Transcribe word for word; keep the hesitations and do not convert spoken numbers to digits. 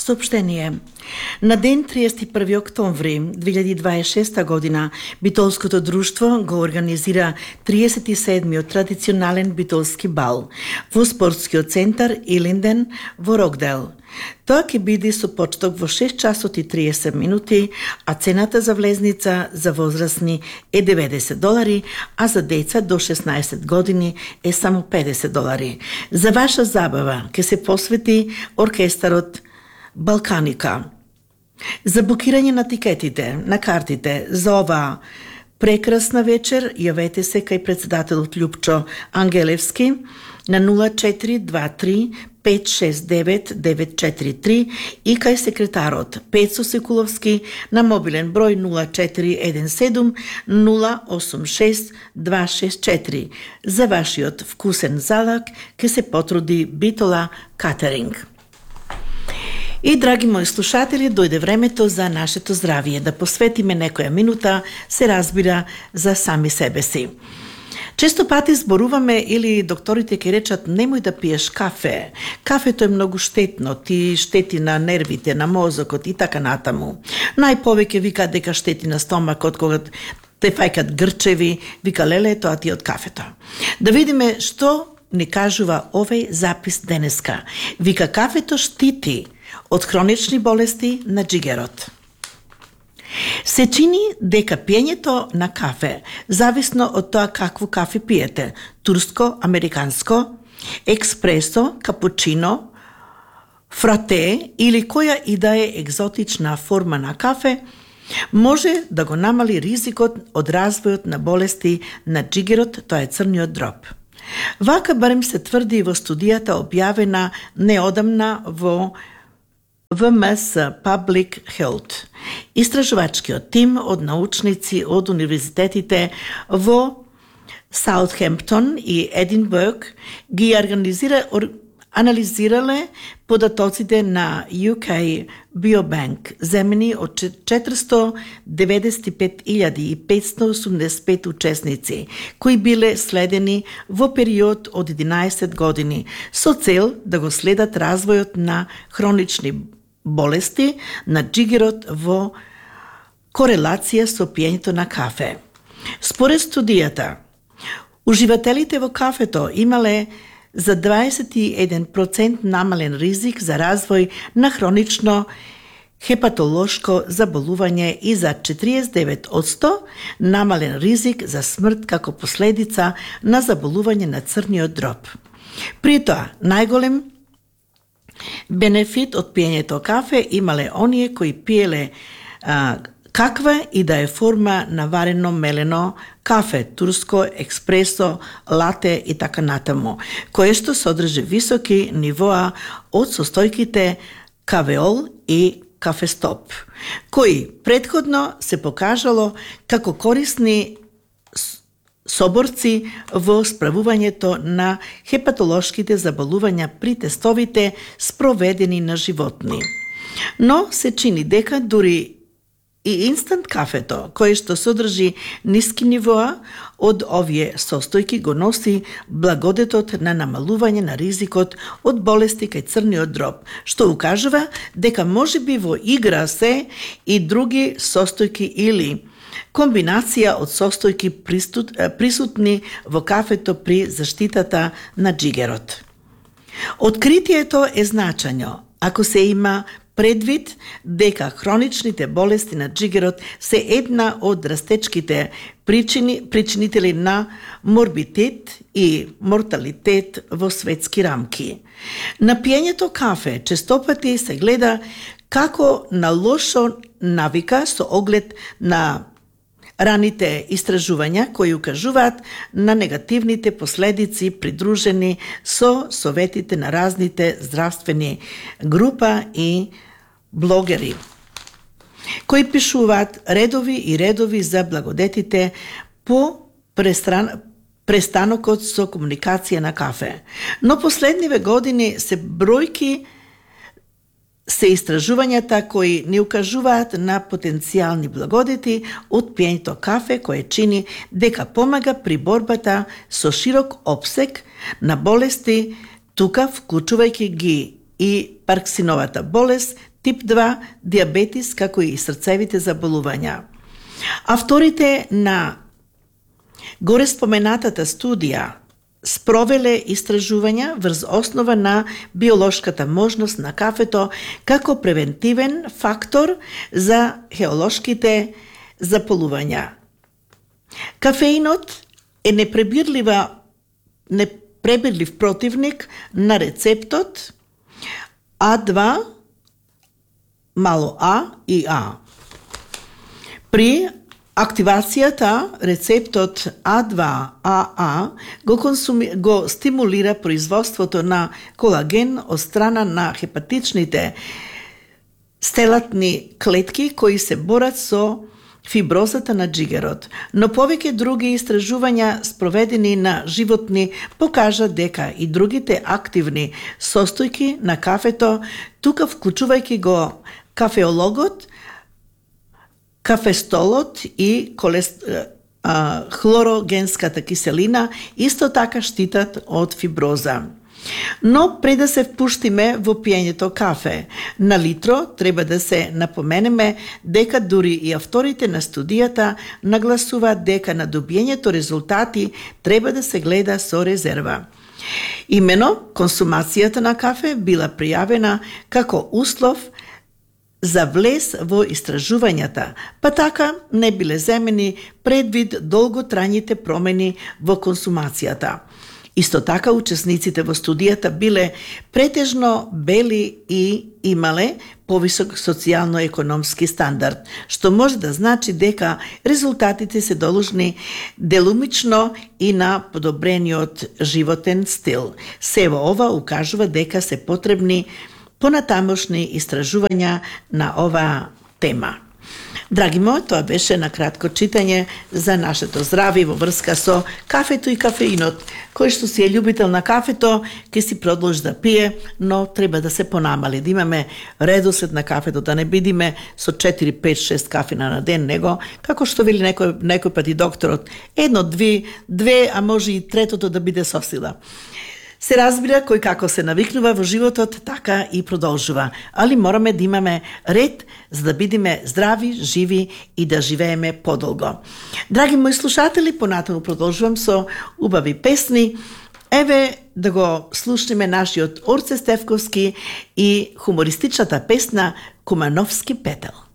Сообщение. На ден триесет и први октомври две илјади дваесет и шеста година Битолското друштво го организира триесет и седмиот традиционален битолски бал во спортскиот центар Илинден во Рокдел. Тоа ќе биде со почеток во шест часот и триесет минути, а цената за влезница за возрастни е деветдесет долари, а за деца до шеснаесет години е само педесет долари. За ваша забава ќе се посвети оркестарот Балканика. За букирање на тикетите, на картите за оваа прекрасна вечер, јавете се кај председателот Љупчо Ангелевски на нула четири два три пет шест девет девет четири три и кај секретарот Пецо Секуловски на мобилен број нула четири еден седум нула осум шест два шест четири. За вашиот вкусен залак ке се потруди Битола Катеринг. И, драги мои слушатели, дојде времето за нашето здравие, да посветиме некоја минута, се разбира, за сами себе си. Често пати зборуваме или докторите ќе речат немој да пиеш кафе. Кафето е многу штетно, ти штети на нервите, на мозокот и така натаму. Најповеќе вика дека штети на стомакот кога те фајкат грчеви, вика леле тоа ти од кафето. Да видиме што ни кажува овој запис денеска. Вика кафето штити од хронични болести на джигерот. Се чини дека пиењето на кафе, зависно од тоа какво кафе пиете, турско, американско, експресо, капучино, фрате или која и да е екзотична форма на кафе, може да го намали ризикот од развојот на болести на джигерот, тоа е црниот дроб. Вака барем се тврди во студијата објавена неодамна во В М С Public Health. Истражувачкиот тим од научници од универзитетите во Саутхемптон и Единбург ги организира, ор, анализирале податоците на Ю К Biobank, земени од четиристо деветдесет и пет илјади и петстотини осумдесет и пет учесници, кои биле следени во период од единаесет години, со цел да го следат развојот на хронични болести на джигерот во корелација со пиењето на кафе. Според студијата, уживателите во кафето имале за дваесет и еден процент намален ризик за развој на хронично хепатолошко заболување и за четириесет и девет одсто намален ризик за смрт како последица на заболување на црниот дроб. При тоа, најголем бенефит од пиењето кафе имале оние кои пиеле а, каква и да е форма на варено мелено кафе, турско, експресо, лате и така натаму, кое што содржи високи нивоа од состојките кавеол и кафестоп, кои предходно се покажало како корисни соборци во справувањето на хепатолошките заболувања при тестовите спроведени на животни. Но се чини дека дури и инстант кафето, кое што содржи ниски нивоа од овие состојки, го носи благодетот на намалување на ризикот од болести кај црниот дроб, што укажува дека можеби во игра се и други состојки или комбинација од состојки присутни во кафето при заштитата на джигерот. Откритието е значањо ако се има предвид дека хроничните болести на джигерот се една од растечките причини, причинители на морбитет и морталитет во светски рамки. На пиењето кафе честопати се гледа како на лошо навика со оглед на раните истражувања кои укажуваат на негативните последици придружени со советите на разните здравствени група и блогери, кои пишуваат редови и редови за благодетите по престран... престанокот со комуникација на кафе. Но последниве години се бројки се истражувањата кои ни укажуваат на потенцијални благодети од пиењето кафе, кое чини дека помага при борбата со широк опсег на болести, тука вклучувајќи ги и Парксиновата болест, тип два, диабетис, како и срцевите заболувања. Авторите на горе споменатата студија спровеле истражувања врз основа на биолошката можност на кафето како превентивен фактор за хеолошките заполувања. Кафеинот е непребирлива непребирлив противник на рецептот А два мало А и А. При активацијата рецептот А два А А го, консуми... го стимулира производството на колаген од страна на хепатичните стелатни клетки кои се борат со фиброзата на джигерот, но повеќе други истражувања спроведени на животни покажа дека и другите активни состојки на кафето, тука вклучувајќи го кафеологот, кафестолот и колест... а, хлорогенската киселина, исто така штитат од фиброза. Но пред да се впуштиме во пиењето кафе на литро, треба да се напоменеме дека дури и авторите на студијата нагласуваат дека на добиењето резултати треба да се гледа со резерва. Имено, консумацијата на кафе била пријавена како услов за влез во истражувањата, па така не биле земени предвид долготрајните промени во консумацијата. Исто така, учесниците во студијата биле претежно бели и имале повисок социјално-економски стандард, што може да значи дека резултатите се должни делумично и на подобрениот животен стил. Сево ова укажува дека се потребни понатамошни истражувања на оваа тема. Драги мои, тоа беше на кратко читање за нашето здравје во врска со кафето и кафеинот. Кој што си е љубител на кафето, ќе си продолжи да пие, но треба да се понамали, да имаме редослед на кафето, да не бидиме со четири, пет, шест кафина на ден, него, како што вели некој, некој пат и докторот, едно, две, две, а може и третото да биде со сила. Се разбира, кој како се навикнува во животот, така и продолжува. Али мораме да имаме ред за да бидеме здрави, живи и да живееме подолго. Драги мои слушатели, понатаму продолжувам со убави песни. Еве да го слушнеме нашиот Орце Стефковски и хумористичната песна Кумановски петел.